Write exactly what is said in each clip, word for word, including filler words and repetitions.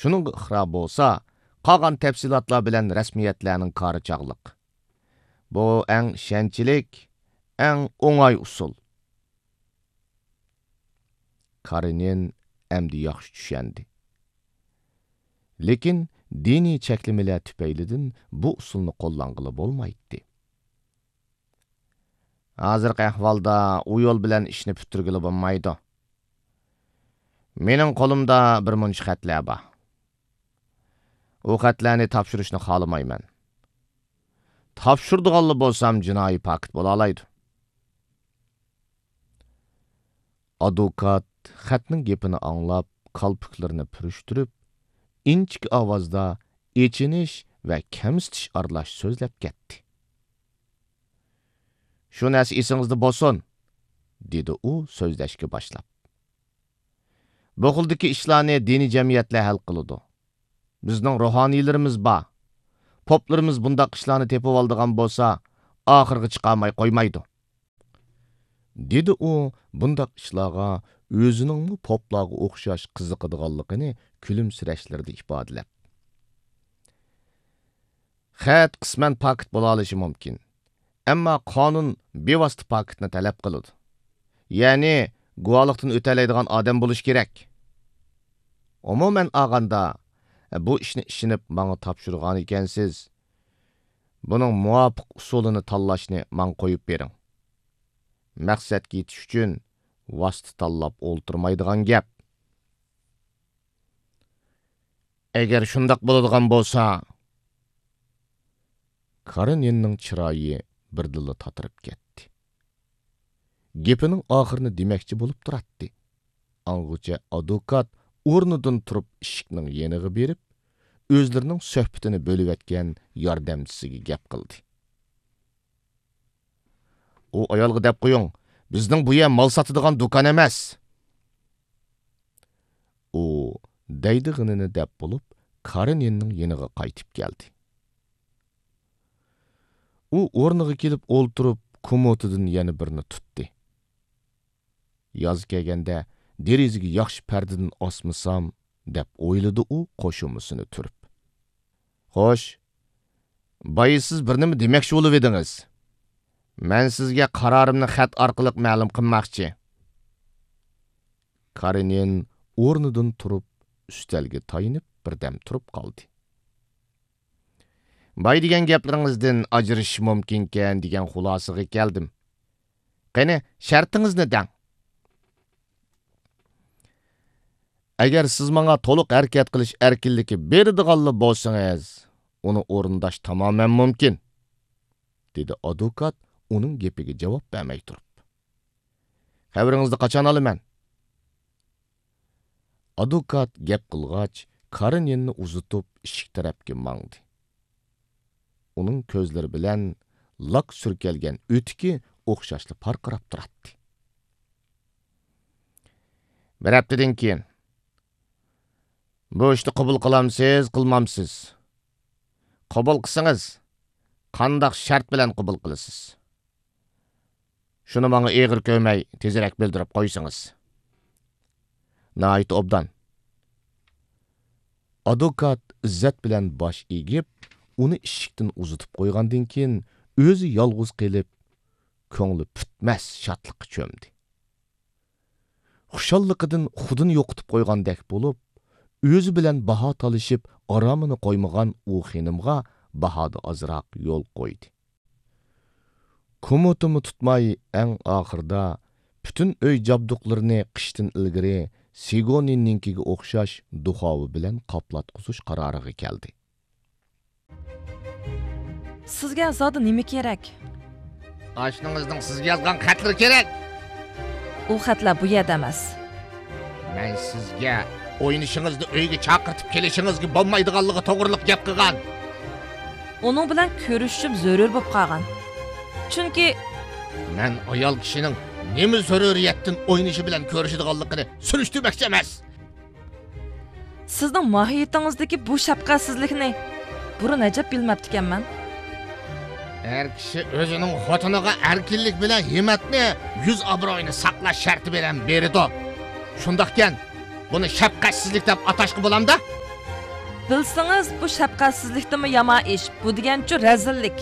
شۇنىڭغا ئىقرار بولسا، قالغان تەپسىلاتلار بىلەن رەسمىيەتلەرنىڭ كارى چاغلىق. بۇ ئەڭ ئىشەنچلىك، ئەڭ ئوڭاي ئۇسۇل. كارېنىن ئەمدى ياخشى چۈشەندى. لېكىن دىنىي چەكلىمىلەر تۈپەيلىدىن بۇ ئۇسۇلنى قوللانغىلى بولمايتتى. ھازىرقى ئەھۋالدا ئۇ يول بىلەن ئىشنى پۈتتۈرگىلى بولمايدۇ. مېنىڭ قولۇمدا بىر مۇنچە خەتلەر بار. ئۇ خەتلەرنى تاپشۇرۇشنى خالىمايمەن. تاپشۇرىدىغانلا بولسام جىنايى پاكىت بولالايدۇ. ئادۋوكات خەتنىڭ گېپىنى ئاڭلاپ، كالپۇكلىرىنى پۈرۈشتۈرۈپ، ئىنچىكە ئاۋازدا ئېچىنىش ۋە كەمسىتىش ئارىلاش سۆزلەپ كەتتى. «شۇ نەرسە ئېسىڭىزدە بولسۇن»، دېدى ئۇ سۆزلەشكە باشلاپ. «بۇ خىلدىكى ئىشلارنى دىنىي جەمئىيەتلەر ھەل قىلىدۇ. بىزنىڭ روھانىيلىرىمىز بار. پوپلىرىمىز بۇنداق ئىشلارنى تېپىۋالىدىغان بولسا، ئاخىرغا چىقارماي قويمايدۇ.» دېدى ئۇ بۇنداق ئىشلارغا ئۆزىنىڭمۇ پوپلارغا ئوخشاش قىزىقىدىغانلىقىنى كۈلۈمسىرەشلىرىدە ئىپادىلەپ. «خەت قىسمەن پاكىت بولالىشى مۇمكىن، ئەمما قانۇن بىۋاسىتە پاكىتنى تەلەپ قىلىدۇ. يەنى گۇۋاھلىقتىن ئۆتەلەيدىغان ئادەم بولۇشى كېرەك. ئومۇمەن ئالغاندا، بۇ ئىشنى ئىشىنىپ ماڭا تاپشۇرغان ئىكەنسىز. بۇنىڭ مۇۋاپىق ئۇسۇلىنى تاللاشنى ماڭا قويۇپ بېرىڭ. مەقسەتكە يېتىش ئۈچۈن ۋاسىتە تاللاپ ئولتۇرمايدىغان گەپ.» «ئەگەر شۇنداق بولىدىغان بولسا...» كارېنىننىڭ چىرايى بىردىنلا تاتىرىپ كەتتى. گېپىنىڭ ئاخىرىنى دېمەكچى بولۇپ تۇراتتى. ئاڭغىچە ئادۋوكات ئورنىدىن تۇرۇپ ئىشىكنىڭ يېنىغا بېرىپ، ئۆزلىرىنىڭ سۆھبىتىنى بۆلۈۋەتكەن ياردەمچىسىگە گەپ قىلدى. «ئۇ ئايالغا دەپ قويۇڭ، بىزنىڭ بۇ يەر مال ساتىدىغان دۇكان ئەمەس.» ئۇ دەيدىغىنىنى دەپ بولۇپ، كارېنىننىڭ يېنىغا قايتىپ كەلدى. ئۇ ئورنىغا كېلىپ ئولتۇرۇپ، كوموتىدىن يەنە بىرنى تۇتتى. «ياز كەلگەندە دېرىزىگە ياخشى پەردىدىن ئاسمىسام»، دەپ ئويلىدى ئۇ قوشۇمىسىنى تۈرۈپ. «خوش، بايا سىز بىر نېمە دېمەكچى بولۇۋىدىڭىز. مەن سىزگە قارارىمنى خەت ئارقىلىق مەلۇم قىلماقچى.» كارېنىن ئورنىدىن تۇرۇپ، ئۈستەلگە تايىنىپ بىردەم تۇرۇپ قالدى. «باي دېگەن گەپلىرىڭىزدىن ئاجرىشىش مۇمكىنكەن دېگەن خۇلاسىگە كەلدىم. قېنى، شەرتىڭىزنى دەڭ.» «ئەگەر سىز ماڭا تولۇق ھەرىكەت قىلىش ئەركىنلىكى بېرىدىغانلا بولسىڭىز، ئۇنى ئورۇنداش تامامەن مۇمكىن»، دېدى ئادۋوكات ئۇنىڭ گېپىگە جاۋاب بەرمەي تۇرۇپ. «خەۋىرىڭىزنى قاچان ئالىمەن؟» ئادۋوكات گەپ قىلغاچ، كارېنىننى ئۇزىتىپ ئىشىك تەرەپكە ماڭدى. ئۇنىڭ كۆزلىرى بىلەن لاك سۈركەلگەن ئۆتۈكى ئوخشاشلا پارقىراپ تۇراتتى. «بىر ھەپتىدىن كېيىن. بۇ ئىشنى قوبۇل قىلامسىز، قىلمامسىز؟ قوبۇل قىلسىڭىز، قانداق شەرت بىلەن قوبۇل قىلىسىز؟ شۇنى ماڭا ئېغىر كۆرمەي، تېزرەك بىلدۈرۈپ قويسىڭىز.» «ناھايىتى ئوبدان.» ئادۋوكات ئىززەت بىلەن باش ئېگىپ، ئۇنى ئىشىكتىن ئۇزىتىپ قويغاندىن كېيىن، ئۆزى يالغۇز قېلىپ، كۆڭلى پۈتمەس شادلىققا چۆمدى. خۇشاللىقىدىن خۇدىنى يوقىتىپ قويغاندەك بولۇپ، ئۆزى بىلەن باھا تالىشىپ، ئارامىنى قويمىغان ئۇ خېنىمغا باھادا ئازراق يول قويدى. كوموتىمۇ تۇتماي، ئەڭ ئاخىرىدا پۈتۈن ئۆي جابدۇقلىرىنى قىشتىن ئىلگىرى سىگونىننىڭكىگە ئوخشاش دۇخاۋا بىلەن قاپلاتقۇزۇش قارارىغا كەلدى. سىزگە زادى نېمە كېرەك؟ ئاشنىڭىزنىڭ سىزگە يازغان خەتلىرى كېرەك. ئۇ خەتلەر بۇ يەردە ئەمەس. مەن سىزگە ئوينىشىڭىزنى ئۆيگە چاقىرتىپ كېلىشىڭىزگە بولمايدىغانلىقى توغرىلىق گەپ قىلغان. ئۇنىڭ بىلەن كۆرۈشۈشۈم زۆرۈر بولۇپ قالغان. چۈنكى مەن ئايال كىشىنىڭ نېمە زۆرۈرىيەتتىن ئوينىشى بىلەن كۆرۈشىدىغانلىقىنى سۈرۈشتۈرمەكچى ئەمەس. سىزنىڭ ماھىيىتىڭىزدىكى بۇ شەپقەتسىزلىكنى بۇرۇن ئەجەب بىلمەپتىكەنمەن. ئەر كىشى ئۆزىنىڭ خوتۇنىغا ئەركىنلىك بىلەن ھىممەتنى، يۈز ئابرۇيىنى ساقلاش شەرتى بىلەن بېرىدۇ. شۇنداقكەن، بۇنى شەپقەتسىزلىك دەپ ئاتاشقا بولامدا؟ بىلسىڭىز، بۇ شەپقەتسىزلىكتىنمۇ يامان ئىش، بۇ دېگەنچۇ رەزىللىك.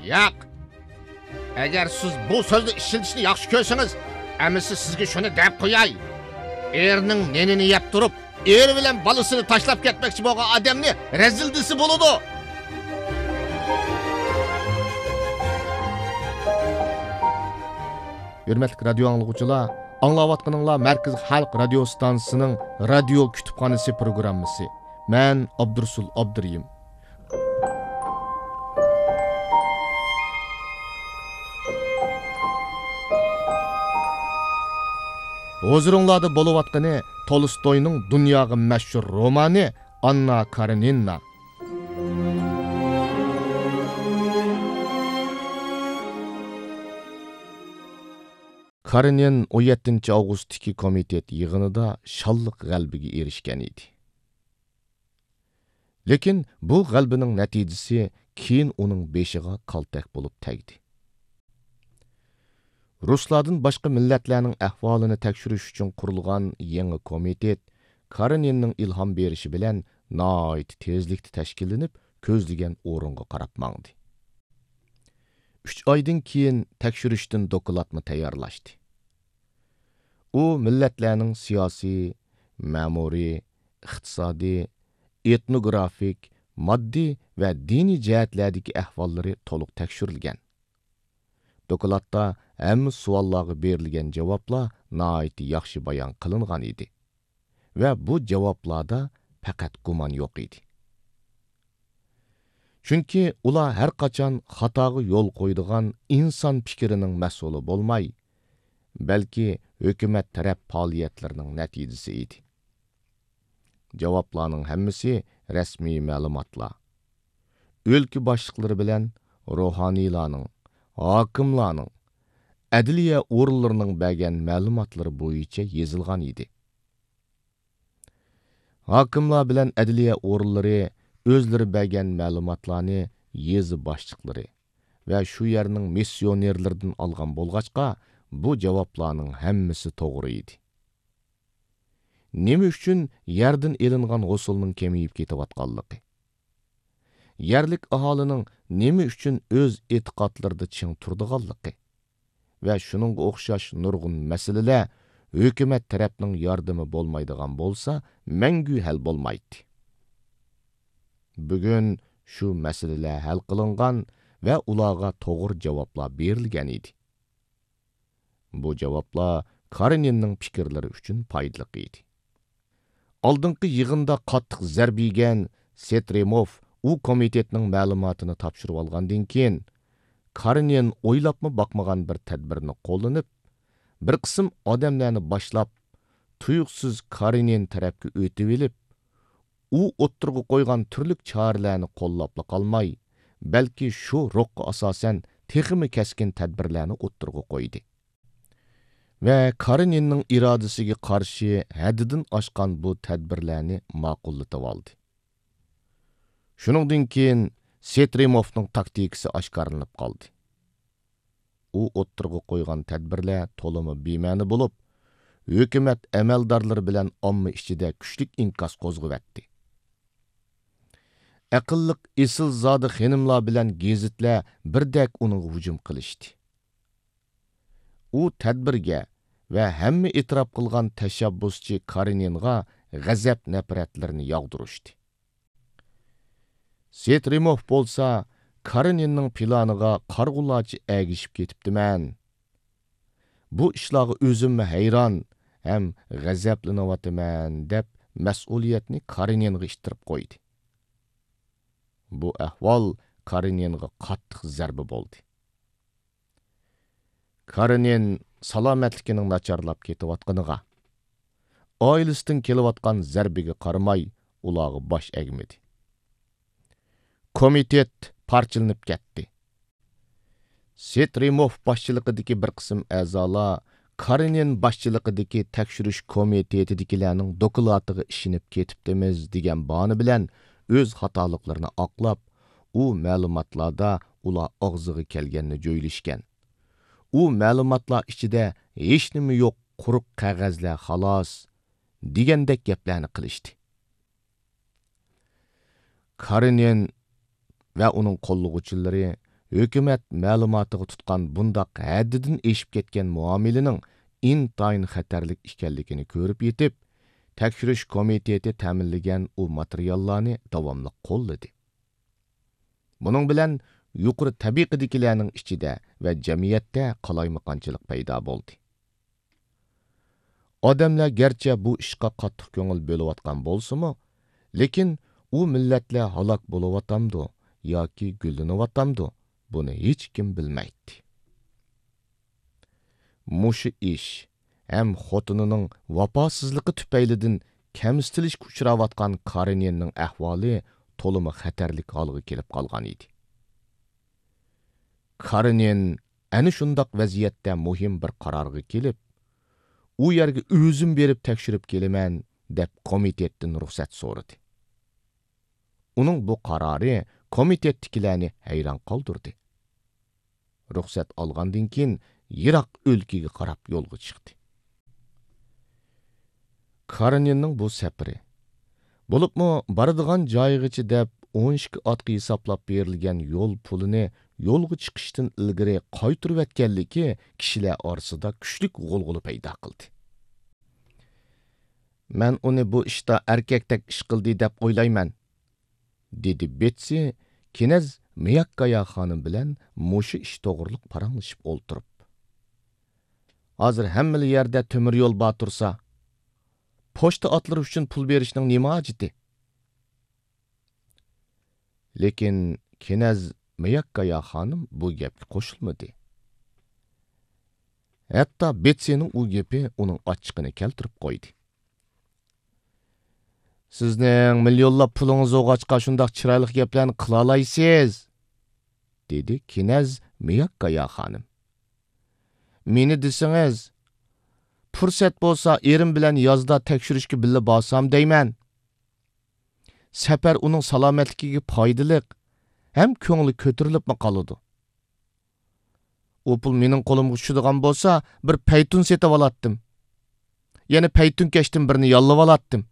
ياق. ئەگەر سىز بۇ سۆزنى ئىشلىتىشنى ياخشى كۆرسىڭىز، ئەمىسە سىزگە شۇنى دەپ قوياي. ئېرىنىڭ نېنىنى يەپ تۇرۇپ، ئېرى بىلەن بالىسىنى تاشلاپ كەتمەكچى بولغان ئادەمنى رەزىل دېسە بولىدۇ. ھۆرمەتلىك رادىيو ئاڭلىغۇچىلار، ئاڭلاۋاتقىنىڭلار مەركىزىي خەلق رادىيو ئىستانسىسىنىڭ رادىيو كۇتۇپخانىسى پروگراممىسى. مەن ئابدۇرۇسۇل ئابدۇرېھىم. ھۇزۇرۇڭلاردا بولۇۋاتقىنى تولستوينىڭ دۇنياغا مەشھۇر رومانى ئاننا كارېنىنا. كارېنىن ئون يەتتىنچى ئاۋغۇستتىكى كومىتېت يىغىنىدا شانلىق غەلىبىگە ئېرىشكەن ئىدى. لېكىن بۇ غەلىبىنىڭ نەتىجىسى كېيىن ئۇنىڭ بېشىغا كالتەك بولۇپ تەگدى. رۇسلاردىن باشقا مىللەتلەرنىڭ ئەھۋالىنى تەكشۈرۈش ئۈچۈن قۇرۇلغان يېڭى كومىتېت كارېنىننىڭ ئىلھام بېرىشى بىلەن ناھايىتى تېزلىكتە تەشكىللىنىپ، كۆزلىگەن ئورۇنغا قاراپ ماڭدى. ئۈچ ئايدىن كېيىن تەكشۈرۈشتىن دوكلاتمۇ تەييارلاشتى. ئۇ مىللەتلەرنىڭ سىياسىي، مەمۇرىي، ئىقتىسادىي، ئېتنوگرافىك، ماددىي ۋە دىنىي جەھەتلەردىكى ئەھۋاللىرى تولۇق تەكشۈرۈلگەن. دوكلاتتا ھەممە سوئاللارغا بېرىلگەن جاۋابلار ناھايىتى ياخشى بايان قىلىنغان ئىدى ۋە بۇ جاۋابلاردا پەقەت گۇمان يوق ئىدى. چۈنكى ئۇلار ھەر قاچان خاتاغا يول قويىدىغان ئىنسان پىكرىنىڭ مەھسۇلى بولماي، بەلكى ھۆكۈمەت تەرەپ پائالىيەتلىرىنىڭ نەتىجىسى ئىدى. جاۋابلارنىڭ ھەممىسى رەسمىي مەلۇماتلار. ئۆلكە باشلىقلىرى بىلەن روھانىيلارنىڭ، ھاكىملارنىڭ، ئەدلىيە ئورۇنلىرىنىڭ بەرگەن مەلۇماتلىرى بويىچە يېزىلغان ئىدى. ھاكىملار بىلەن ئەدلىيە ئورۇنلىرى ئۆزلىرى بەرگەن مەلۇماتلارنى يېزا باشلىقلىرى ۋە شۇ يەرنىڭ مىسسىيونېرلىرىدىن ئالغان بولغاچقا، بۇ جاۋابلارنىڭ ھەممىسى توغرا ئىدى. نېمە ئۈچۈن يەردىن ئېلىنغان ھوسۇلنىڭ كېمىيىپ كېتىۋاتقانلىقى، يەرلىك ئاھالىنىڭ نېمە ئۈچۈن ئۆز ئېتىقادلىرىدا چىڭ تۇرىدىغانلىقى ۋە شۇنىڭغا ئوخشاش نۇرغۇن مەسىلىلەر ھۆكۈمەت تەرەپنىڭ ياردىمى بولمايدىغان بولسا، مەڭگۈ ھەل بولمايتتى. بۈگۈن شۇ مەسىلىلەر ھەل قىلىنغان ۋە ئۇلارغا توغرا جاۋابلار بېرىلگەن ئىدى. بۇ جاۋابلار كارېنىننىڭ پىكىرلىرى ئۈچۈن پايدىلىق ئىدى. ئالدىنقى يىغىندا قاتتىق زەربە يېگەن سېترېموف ئۇ كومىتېتنىڭ مەلۇماتىنى تاپشۇرۇۋالغاندىن كېيىن، كارېنىن ئويلاپمۇ باقمىغان بىر تەدبىرنى قوللىنىپ، بىر قىسىم ئادەملەرنى باشلاپ، تۇيۇقسىز كارېنىن تەرەپكە ئۆتۈۋېلىپ، ئۇ ئوتتۇرىغا قويغان تۈرلۈك چارىلەرنى قوللاپلا قالماي، بەلكى شۇ روھقا ئاساسەن تېخىمۇ كەسكىن تەدبىرلەرنى ئوتتۇرىغا قويدى. ۋە كارېنىننىڭ ئىرادىسىگە قارشى ھەددىدىن ئاشقان بۇ تەدبىرلەرنى ماقۇللىتىۋالدى. شۇنىڭدىن كېيىن سېترېموفنىڭ تاكتىكىسى ئاشكارىلىنىپ قالدى. ئۇ ئوتتۇرىغا قويغان تەدبىرلەر تولىمۇ بىمەنە بولۇپ، ھۆكۈمەت ئەمەلدارلىرى بىلەن ئامما ئىچىدە كۈچلۈك ئىنكاس قوزغىۋەتتى. ئەقىللىق ئېسىلزادە خېنىملار بىلەن گېزىتلەر بىردەك ئۇنىڭغا ھۇجۇم قىلىشتى. ئۇ تەدبىرگە ۋە ھەممە ئېتىراپ قىلغان تەشەببۇسچى كارېنىنغا غەزەپ-نەپرەتلىرىنى ياغدۇرۇشتى. سېترېموف بولسا، كارېنىننىڭ پىلانىغا قارىغۇلارچە ئەگىشىپ كېتىپتىمەن. بۇ ئىشلارغا ئۆزۈممۇ ھەيران ھەم غەزەپلىنىۋاتىمەن، دەپ مەسئۇلىيەتنى كارېنىنغا ئىتتىرىپ قويدى. بۇ ئەھۋال كارېنىنغا قاتتىق زەربە بولدى. كارېنىن سالامەتلىكىنىڭ ناچارلاپ كېتىۋاتقىنىغا، ئائىلىسىدىن كېلىۋاتقان زەربىگە قارىماي، ئۇلارغا باش ئەگمىدى. كومىتېت پارچىلىنىپ كەتتى. سېترېموف باشچىلىقىدىكى بىر قىسىم ئەزالار كارېنىن باشچىلىقىدىكى تەكشۈرۈش كومىتېتىدىكىلەرنىڭ دوكلاتىغا ئىشىنىپ كېتىپتىمىز دېگەن باھانە بىلەن ئۆز خاتالىقلىرىنى ئاقلاپ، ئۇ مەلۇماتلاردا ئۇلار ئاغزىغا كەلگەننى جۆيلۈشكەن. ئۇ مەلۇماتلار ئىچىدە ھېچنېمە يوق، قۇرۇق قەغەزلەر خالاس، دېگەندەك گەپلەرنى قىلىشتى. كارېنىن ۋە ئۇنىڭ قوللىغۇچىلىرى ھۆكۈمەت مەلۇماتىغا تۇتقان بۇنداق ھەددىدىن ئېشىپ كەتكەن مۇئامىلىنىڭ ئىنتايىن خەتەرلىك ئىكەنلىكىنى كۆرۈپ يېتىپ، تەكشۈرۈش كومىتېتى تەمىنلىگەن ئۇ ماتېرىياللارنى داۋاملىق قوللىدى. بۇنىڭ بىلەن يۇقىرى تەبىقىدىكىلەرنىڭ ئىچىدە ۋە جەمئىيەتتە قالايمىقانچىلىق پەيدا بولدى. ئادەملەر گەرچە بۇ ئىشقا قاتتىق كۆڭۈل بۆلۈۋاتقان بولسىمۇ، لېكىن ئۇ مىللەتلەر ھالاك بولۇۋاتامدۇ ياكى گۈللىنىۋاتامدۇ، بۇنى ھېچكىم بىلمەيتتى. مۇشۇ ئىش ھەم خوتۇنىنىڭ ۋاپاسىزلىقى تۈپەيلىدىن كەمسىتىلىشكە ئۇچراۋاتقان كارېنىننىڭ ئەھۋالى تولىمۇ خەتەرلىك ھالغا كېلىپ قالغان ئىدى. كارېنىن ئەنە شۇنداق ۋەزىيەتتە مۇھىم بىر قارارغا كېلىپ، ئۇ يەرگە ئۆزۈم بېرىپ تەكشۈرۈپ كېلىمەن، دەپ كومىتېتتىن رۇخسەت سورىدى. ئۇنىڭ بۇ قارارى كومىتېتتىكىلەرنى ھەيران قالدۇردى. رۇخسەت ئالغاندىن كېيىن يىراق ئۆلكىگە قاراپ يولغا چىقتى. كارېنىننىڭ بۇ سەپىرى، بولۇپمۇ بارىدىغان جايىغىچە دەپ ئون ئىككى ئاتقا ھېسابلاپ بېرىلگەن يول پۇلىنى يولغا چىقىشتىن ئىلگىرى قايتۇرۇۋەتكەنلىكى كىشىلەر ئارىسىدا كۈچلۈك غۇلغۇلا پەيدا قىلدى. «مەن ئۇنى بۇ ئىشتا ئەركەكتەك ئىش قىلدى دەپ ئويلايمەن»، دېدى بېتسى كىنەز مىياككايا خانىم بىلەن مۇشۇ ئىش توغرۇلۇق پاراڭلىشىپ ئولتۇرۇپ. «ھازىر ھەممىلا يەردە تۆمۈر يول بار تۇرسا، پوچتا ئاتلىرى ئۈچۈن پۇل بېرىشنىڭ نېمە ھاجىتى؟» لېكىن كىنەز مىياككايا خانىم بۇ گەپكە قوشۇلمىدى. ھەتتا بېتسىنىڭ ئۇ گېپى ئۇنىڭ ئاچچىقىنى كەلتۈرۈپ قويدى. «سىزنىڭ مىليونلاپ پۇلىڭىز بولغاچقا شۇنداق چىرايلىق گەپلەرنى قىلالايسىز»، دېدى كىنەز مىياككايا خانىم. «مېنى دېسىڭىز، پۇرسەت بولسا ئېرىم بىلەن يازدا تەكشۈرۈشكە بىللە بارسام دەيمەن. سەپەر ئۇنىڭ سالامەتلىكىگە پايدىلىق ھەم كۆڭلى كۆتۈرۈلۈپمۇ قالىدۇ. ئۇ پۇل مېنىڭ قولۇمغا چۈشىدىغان بولسا، بىر پەيتۇن سېتىۋالاتتىم. يەنە پەيتۇنكەشتىن بىرنى ياللىۋالاتتىم.»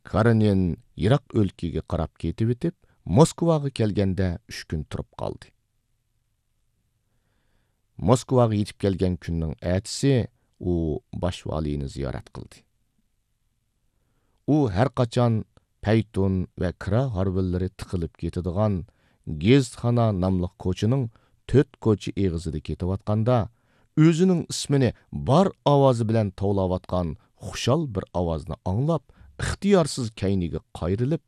كارېنىن يىراق ئۆلكىگە قاراپ كېتىۋېتىپ، موسكۋاغا كەلگەندە ئۈچ كۈن تۇرۇپ قالدى. موسكۋاغا يېتىپ كەلگەن كۈننىڭ ئەتىسى ئۇ باش ۋالىينى زىيارەت قىلدى. ئۇ ھەر قاچان پەيتۇن ۋە كىرا ھارۋىلىرى تىقىلىپ كېتىدىغان گېزىتخانا ناملىق كوچىنىڭ تۆت كوچا ئېغىزىدا كېتىۋاتقاندا، ئۆزىنىڭ ئىسمىنى بار ئاۋازى بىلەن توۋلاۋاتقان خۇشال بىر ئاۋازنى ئاڭلاپ، ئىختىيارسىز كەينىگە قايرىلىپ،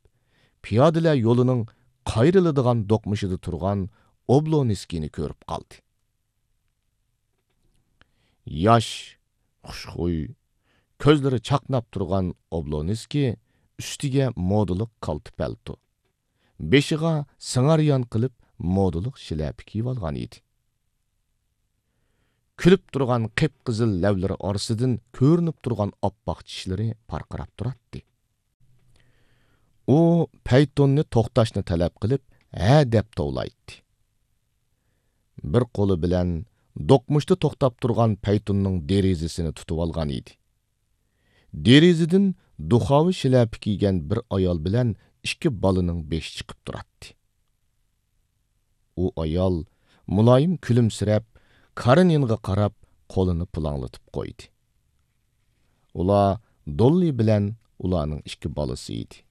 پىيادىلەر يولىنىڭ قايرىلىدىغان دوقمۇشىدا تۇرغان ئوبلونسكىينى كۆرۈپ قالدى. ياش، خۇشخۇي، كۆزلىرى چاقناپ تۇرغان ئوبلونسكىي ئۈستىگە مودىلىق كالتە پەلتو، بېشىغا سىڭاريان قىلىپ مودىلىق شىلەپە كىيىۋالغان ئىدى. كۈلۈپ تۇرغان قىپقىزىل لەۋلىرى ئارىسىدىن كۆرۈنۈپ تۇرغان ئاپئاق چىشلىرى پارقىراپ تۇراتتى. ئۇ پەيتۇننى توختاشنى تەلەپ قىلىپ، ھە دەپ توۋلايتتى. بىر قولى بىلەن دوقمۇشتا توختاپ تۇرغان پەيتۇننىڭ دېرىزىسىنى تۇتۇۋالغان ئىدى. دېرىزىدىن دۇخاۋا شىلەپە كىيگەن بىر ئايال بىلەن ئىككى بالىنىڭ بېشى چىقىپ تۇراتتى. ئۇ ئايال مۇلايىم كۈلۈمسىرەپ، كارېنىنغا قاراپ قولىنى پۇلاڭلىتىپ قويدى. ئۇلار دوللى بىلەن ئۇلارنىڭ ئىككى بالىسى ئىدى.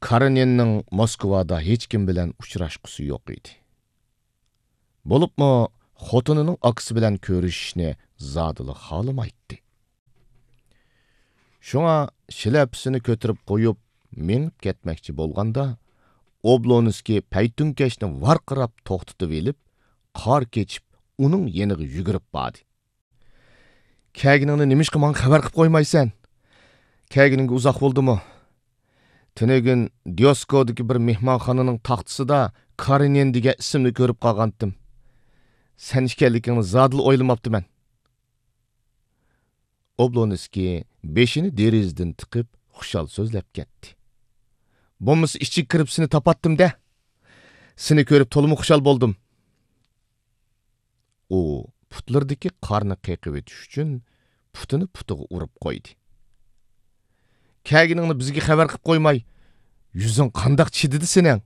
كارېنىننىڭ موسكۋادا ھېچكىم بىلەن ئۇچراشقۇسى يوق ئىدى. بولۇپمۇ خوتۇنىنىڭ ئاكىسى بىلەن كۆرۈشۈشنى زادىلا خالىمايتتى. شۇڭا شىلەپىسىنى كۆتۈرۈپ قويۇپ، مېڭىپ كەتمەكچى بولغاندا، ئوبلونسكىي پەيتۇنكەشنى ۋارقىراپ توختىتىۋېلىپ، قار كېچىپ، ئۇنىڭ يېنىغا يۈگۈرۈپ باردى. «كەلگىنىڭنى نېمىشقا ماڭا خەۋەر قىلىپ قويمايسەن؟ كەلگىنىڭگە ئۇزاق بولدىمۇ؟ تۈنۈگۈن ديوسكودىكى بىر مېھمانخانىنىڭ تاختىسىدا كارېنىن دېگەن ئىسىمنى كۆرۈپ قالغانتىم. سەن ئىكەنلىكىڭنى زادىلا ئويلىماپتىمەن.» ئوبلونسكىي بېشىنى دېرىزىدىن تىقىپ، خۇشال سۆزلەپ كەتتى. «بولمىسا ئىچىگە كىرىپ سېنى تاپاتتىم-دە. سېنى كۆرۈپ تولىمۇ خۇشال بولدۇم.» ئۇ پۇتلىرىدىكى قارنى قېقىۋېتىش ئۈچۈن پۇتىنى پۇتىغا ئۇرۇپ قويدى. «كەلگىنىڭنى بىزگە خەۋەر قىلىپ قويماي، يۈزۈڭ قانداق چىدىدى سېنىڭ؟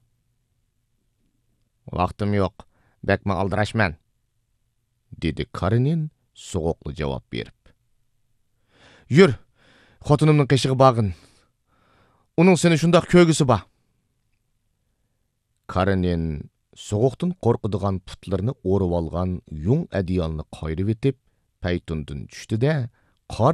ۋاقتىم يوق، بەكمۇ ئالدىراشمەن، دېدى كارېنىن سوغۇقلا جاۋاب بېرىپ. يۈر، خوتۇنۇمنىڭ قېشىغا بارغىن. ئۇنىڭ سېنى شۇنداق كۆرگۈسى بار. كارېنىن سوغۇقتىن قورقىدىغان پۇتلىرىنى ئورىۋالغان يۇڭ ئەدىيالنى قايرىۋېتىپ، پەيتۇندىن چۈشتى-دە،